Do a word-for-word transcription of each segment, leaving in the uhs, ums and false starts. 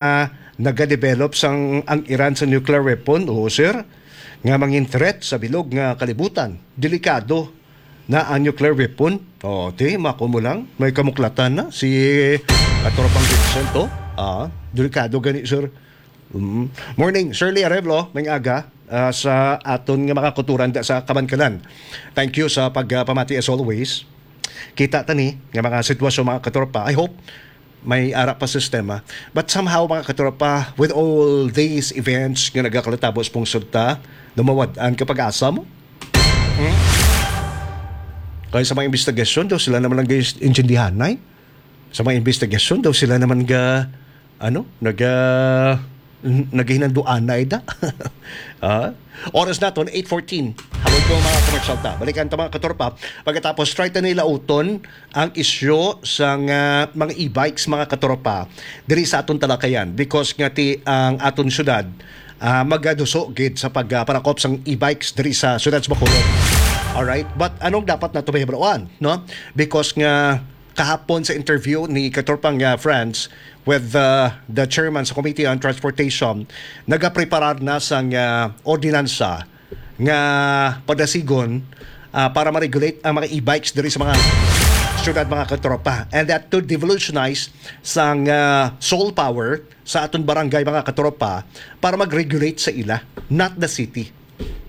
ah, nagadevelop sang ang Iran sa nuclear weapon, oo, sir, nga mangin threat sa bilog nga kalibutan. Delikado na ang nuclear weapon. O, ti, mako mo lang, may kamuklatan na si Katropang Vincent, oh. Ah, delikado gani, sir. Mm. Morning, Shirley Arevalo, may aga, ah, sa aton nga mga kuturan da sa Kabankalan. Thank you sa pagpamati as always. Kita ta ni nga mga sitwasyon, mga katropa. I hope may ara pa sistema. But somehow, mga katropa, with all these events nga nagakalatabos pong sulta, namawad-an ka pag-asa mo? Hmm? Kaya sa mga investigasyon daw, sila naman ang intindihanay. Sa mga investigasyon daw, sila naman ga, ano, naga, n-, naghinanduanay da. Ah? Oras naton, eight fourteen. Hapon po, mga commercial ta. Balikan ta, mga katropa. Pagkatapos, try ta nila uton ang isyu sang, ah, mga e-bikes, mga katropa, diri sa aton talakayan. Because nga ti ang aton syudad, ah, magaduso gid sa pag, ah, panakop sang e-bikes diri sa syudad sa Bacolod. Alright? But anong dapat nato mahibaluan, no? Because nga kahapon sa interview ni Katropang, ah, Franz with, ah, the chairman sa Committee on Transportation, nagapreparar na sang, ah, ordinansa nga padasigon, ah, para ma-regulate ang mga e-bikes diri sa mga syudad, mga katropa. And that to devolutionize sang, ah, soul power sa aton barangay, mga katropa, para mag-regulate sa ila, not the city.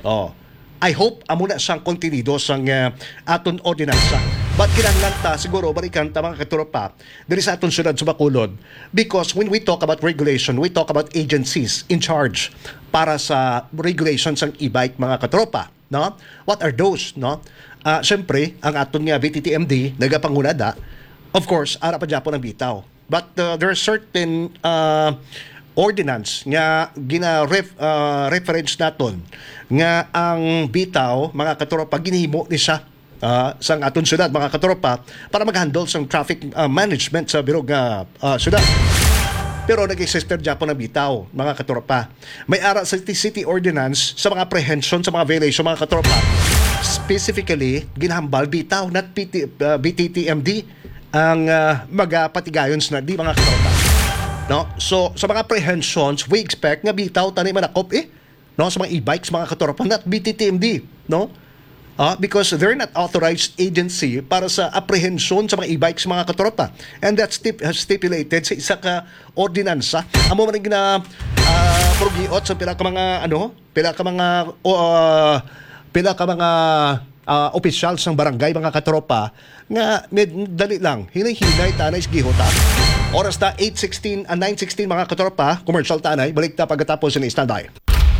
Oh. I hope amo na siyang kontenido sang, ah, aton ordinansa. But kinahanglan ta siguro balikan ta, mga katropa, diri sa aton syudad sa Bacolod, because when we talk about regulation, we talk about agencies in charge para sa regulation sang e-bike, mga katropa, no? What are those, no? Ah, syempre, ang aton nga V T T M D nagapanguna da. Of course, ara pa gyapon ang bitaw. But, uh, there are certain, uh, ordinance nga gina-ref-, uh, reference naton nga ang bitaw, mga katropa, ginhimo ni siya, uh, sang aton syudad, mga katropa, para mag-handle sang traffic, uh, management sa bilog nga, uh, syudad. Pero nag-exist gyapon ang bitaw, mga katropa. May ara sa city, city ordinance sa mga apprehension, sa mga violation, mga katropa. Specifically, ginahambal bitaw, not P T, uh, V T T M D ang, ah, magapatigayon sa di, mga katropa. No? So, sa mga apprehensions, we expect nga bitaw tani manakop, eh, no, sa mga e-bikes, mga katropa, not V T T M D, no? Ah, because they're not authorized agency para sa apprehension sa mga e-bikes, mga katropa. And that's stip-, stipulated sa isa ka ordinansa. Amo man ang gina-, ah, prugiot sa pila ka mga, ano, pila ka mga, o, ah, pila ka mga, ah, opisyal sang barangay, mga katropa, nga med-, dali lang, hinay-hinay ta na isgiho ta. Oras ta, eight sixteen, ah, nine sixteen, mga katropa, commercial ta anay, balik ta pagkatapos ni standby.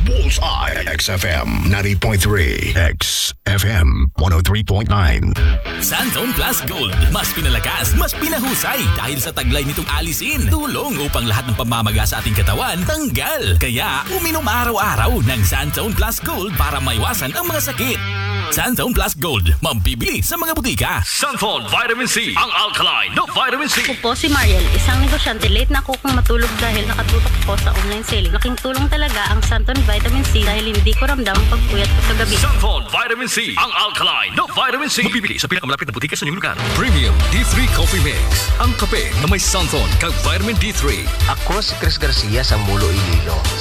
Bullseye, X F M ninety point three, X F M one oh three point nine. Santon Plus Gold, mas pinalakas, mas pinahusay dahil sa taglay nitong alisin. Tulong upang lahat ng pamamaga sa ating katawan tanggal. Kaya, uminom araw-araw ng Santon Plus Gold para maiwasan ang mga sakit. Santon Plus Gold, mabibili sa mga butika. Santon Vitamin C, ang alkaline na vitamin C. Ako po si Mariel, isang negosyante. Late na ako kung matulog dahil nakatutok ako sa online selling. Laking tulong talaga ang Santon Vitamin C dahil hindi ko ramdam ang pagpuyat ko sa gabi. Santon Vitamin C, ang alkaline na vitamin C. Mabibili sa pinakamalapit na butika sa inyong lugar. Premium D three Coffee Mix, ang kape na may Santon kag vitamin D three. Ako si Chris Garcia sa Mulo, Iloilo.